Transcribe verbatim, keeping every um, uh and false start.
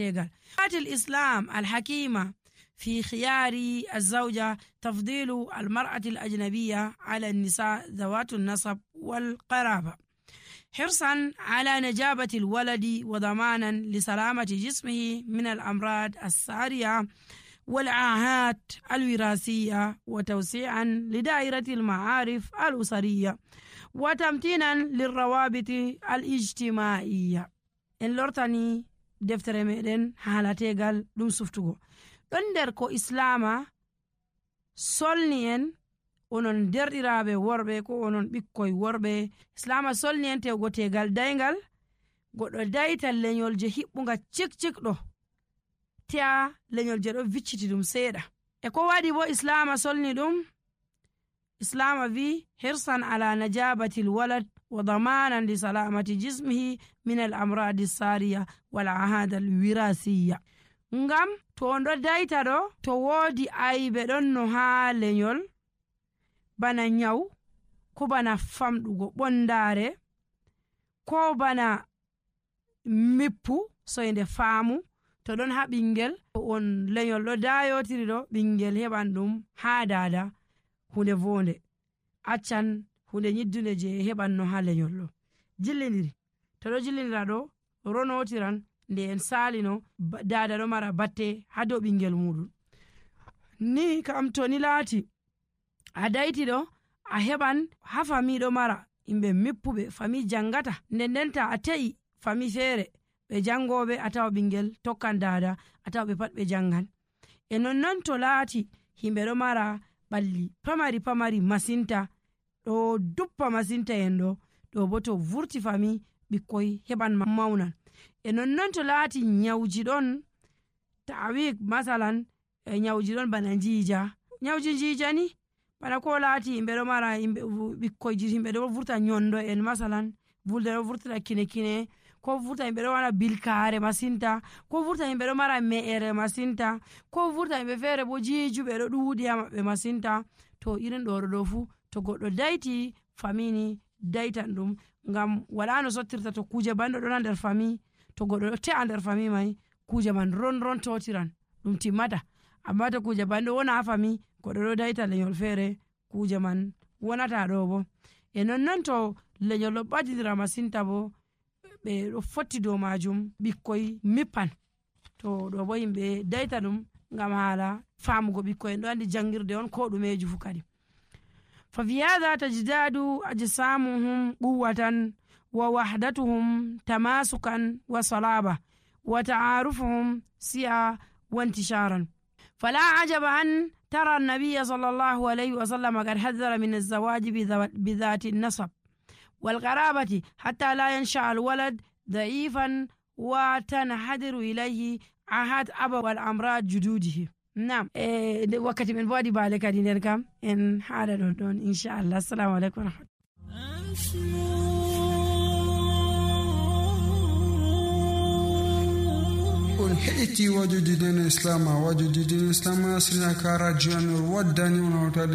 tegal. الإسلام الحكيمة في خيار الزوجة تفضيل المرأة الأجنبية على النساء ذوات النسب والقرابة، حرصا على نجابة الولد وضمانا لسلامة جسمه من الأمراض السارية والعاهات الوراثية، وتوسيعا لدائرة المعارف الأسرية، وتمتينا للروابط الاجتماعية. إن لورتاني deftere meɗen halategal ɗum suftugo ɗon nder ko islama solni en onon derɗiraɓe worɓe ko onon ɓikkoy worɓe. Islama solni en tewgo tegal daygal, goɗɗo dayta lenyol je hiɓɓuga cikcikɗo tea lenyol je ɗo vicciti ɗum seeɗa. E ko waɗi bo islama solni ɗum? islama vi hirsan ala najabatil walad wa damanan li salamati jismihi min al amradi sariya wal ahad al wirasiya. Ngam to on ɗo dayta ɗo, to woodi aybe ɗon no ha lenyol bana nyaw, ko bana famɗugo ɓondare, ko bana mippu soyde faamu, to ɗon ha ɓingel on lenyol ɗo dayotiri ɗo, ɓingel heɓan ɗum ha dada hunde vonde, accan hunde nyiddunde je heɓan no ha lenyol ɗo jillidiri. To ɗo jillidira ɗo ronotiran nde en salino dada ɗo mara batte ha dow ɓingel muɗum. Ni kam to ni laati a dayti ɗo, a heɓan ha fami ɗo mara yimɓe mippuɓe, fami jangata, nden denta a te'i fami feere ɓe jangoɓe, a tawa ɓingel tokkan dada, a tawa ɓe pat ɓe jangan. E nonnon to laati himɓe ɗo mara ɓalli pamari pamari masinta, ɗo duppa masinta en ɗo ɗo bo to vurti fami ɓikkoy heɓan maunan. E nonnon to laati nyawji ɗon, tawi masalan e nyawji ɗon bana jiija, nyawji jiija ni bana ko laati yimɓe ɗo mara yimɓe ɓikkoyji himɓe ɗo vurta nyondo en masalan, vulde ɗo vurtira kine kine, ko vurta yimɓe ɗo mara bilkaare masinta, ko vurta yimɓe ɗo mara me'ere masinta, ko vurta yimɓe feere bo jiijuɓe ɗo ɗuuɗi ha maɓɓe masinta. To irin ɗo ɗo fu to goɗɗo dayti famini daytan ɗum, ngam wala no sottirta to kuje banɗo ɗon ha nder fami, to goɗɗo ɗo te'a nder fami mai kuje man ron ron totiran ɗum timmata. Amma to kuje banɗo wona ha fami, goɗɗo ɗo dayta lenyol feere, kuje man wonata ɗo bo. E nonnon to lenyol ɗo ɓadidira masinta bo, ɓe ɗo fotti dow majum ɓikkoy mippan. To ɗo bo yimɓe dayta ɗum ngam hala famugo ɓikkoy en ɗo andi jangirde on ko ɗumeji fu kadi. ففي هذا تجداد أجسامهم قوة ووحدتهم تماسكا وصلابة وتعارفهم سعة وانتشارا. فلا عجب أن ترى النبي صلى الله عليه وسلم قد حذر من الزواج بذات النسب والقرابة حتى لا ينشأ الولد ضعيفا وتنحدر إليه عهد أبا والأمراض جدوده. نعم إيه وقت من بعد بالك دينر كم إن حال دون إن شاء الله. السلام عليكم ورحمة on heɗiti wajude dina islam wajude dina islam asrina ka radio wadani on